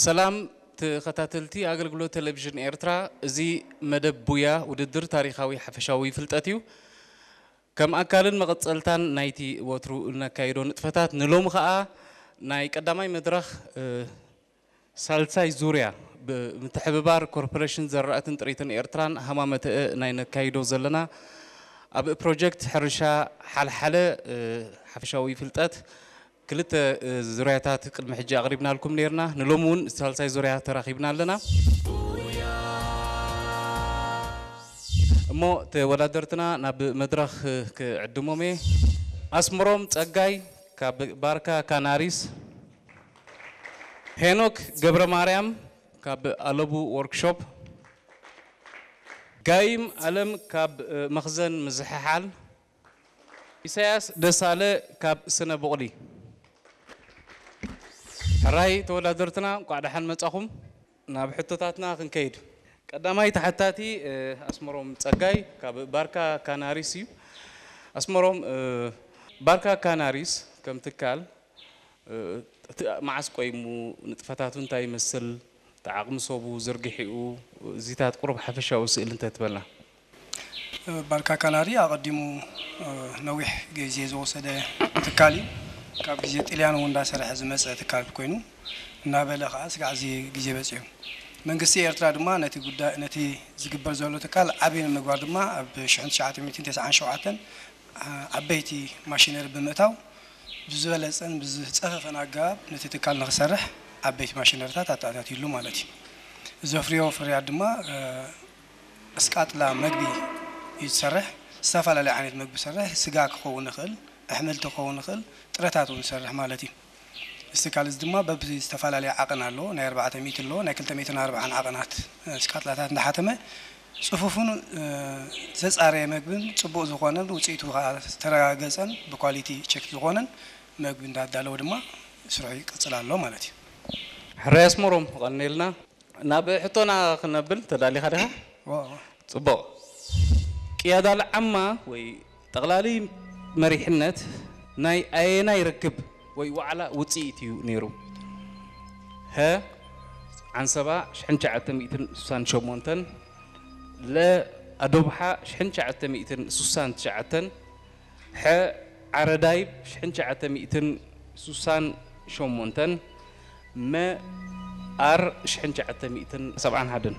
ሰላም ተኸታተልቲ ኣገልግሎት ቴሌቪዥን ኤርትራ፣ እዚ መደብ ቡያ ውድድር ታሪኻዊ ሓፈሻዊ ፍልጠት እዩ። ከም ኣካልን መቐጸልታን ናይቲ ወትሩ እነካይዶ ንጥፈታት፣ ንሎሚ ኸኣ ናይ ቀዳማይ መድረኽ፣ እ፣ ሳልሳይ ዙርያ ብምትሕብባር ኮርፖሬሽን ዘራእትን ጥሪትን ኤርትራን ሃማመተአ ናይ ነካይዶ ዘለና፣ ኣብ ፕሮጀክት ሕርሻ ሓልሓለ፣ እ፣ ሓፈሻዊ ፍልጠት ክልተ፣ እ፣ ዙርያታት ቅድሚ ሕጂ ኣቕሪብናልኩም ነይርና። ንሎሚ እውን ሳልሳይ ዙርያ ተራኺብና ኣለና። እሞ ተወዳደርትና ናብ መድረኽ ክዕድሞም እየ። ኣስምሮም ጸጋይ ካብ ባርካ ካናሪስ፣ ሄኖክ ገብረ ማርያም ካብ ኣለቡ ወርክሾፕ፣ ጋይም ኣለም ካብ፣ እ፣ መኽዘን ምዝሕሓል፣ ኢሳያስ ደሳለ ካብ ስነ ቡቕሊ። ሕራይ ተወዳደርትና፣ እንቋዕ ደሓን መጻኹም። ናብ ሕቶታትና ክንከይድ። ቀዳማይ ተሓታቲ፣ እ፣ ኣስመሮም ጸጋይ ካብ ባርካ ካናሪስ እዩ። ኣስመሮም፣ እ፣ ባርካ ካናሪስ ከም ትካል፣ እ፣ እቲ መዓስ ቆይሙ፣ ንጥፈታቱ እንታይ ይመስል፣ እቲ ዓቕሚ ሰቡ፣ ዝርግሒኡ፣ እዚታት ቁሩብ ሓፈሻዊ ስእሊ እንተትበልና። ባርካ ካናሪ ኣቐዲሙ፣ እ፣ ነዊሕ ግዜ ዝወሰደ ትካል እዩ። ካብ ግዜ ጥልያን እውን እንዳሰርሐ ዝመፀ ትካል ኮይኑ፣ እናበለ ከዓ ስጋዕ እዚ ግዜ በፂሑ። መንግስቲ ኤርትራ ድማ ነቲ ጉዳይ፣ ነቲ ዝግበር ዘሎ ትካል ዓብዪ ንምግባር ድማ ኣብ ሽሕን ትሽዓተ ሚእትን ተስዓን ሸውዓተን ዓበይቲ ማሽነሪ ብምእታው፣ ብዝበለፀን ብዝፀፈፈን ኣገባብ ነቲ ትካል ንክሰርሕ ዓበይቲ ማሽነሪታት ኣተኣታትዩሉ ማለት እዩ። ዘፍርዮ ፍርያት ድማ፣ እ፣ እስቃጥላ መግቢ እዩ ዝሰርሕ። ዝተፈላለዩ ዓይነት መግቢ ይሰርሕ። ስጋ ክኸውን ይኽእል፣ ኣሕምልቲ ክኸውን ይኽእል፣ ጥረታት እውን ይሰርሕ ማለት እዩ። እዚ ትካል እዚ ድማ በብዝተፈላለየ ዓቐን ኣለዎ። ናይ ኣርባዕተ ሚእቲ ኣለዎ፣ ናይ ክልተ ሚእትን ኣርባዓን ዓቐናት፣ እ፣ እስቃጥላታት እንዳሓተመ፣ ጽፉፍን፣ እ፣ ዘጻረየ መግብን ጽቡቕ ዝኾነን ውጽኢቱ ከኣ ዝተረጋገጸን ብኳሊቲ ቸክ ዝኾነን መግቢ እንዳዳለወ ድማ ስርሑ ይቅጽል ኣሎ ማለት እዩ። ሕራይ ኣስመሮም፣ ቀኒልና። ናብ ሕቶና ክነብል ተዳሊኻ ዲኻ? ዋው። ጽቡቕ። ቅያዳ ልዓማ ወይ ጠቕላሊ መሪሕነት ናይ ኣየናይ ርክብ ወይ ዋዕላ ውጽኢት እዩ ነይሩ? ሀ፣ ዓንሰባ ሽሕን ትሽዓተ ሚእትን ስሳን ሸሞንተን፣ ለ፣ ኣዶብሓ ሽሕን ትሽዓተ ሚእትን ስሳን ትሽዓተን፣ ሐ፣ ዓረዳይብ ሽሕን ትሽዓተ ሚእትን ስሳን ሸሞንተን፣ መ፣ ኣር ሽሕን ትሽዓተ ሚእትን ሰብዓን ሓደን።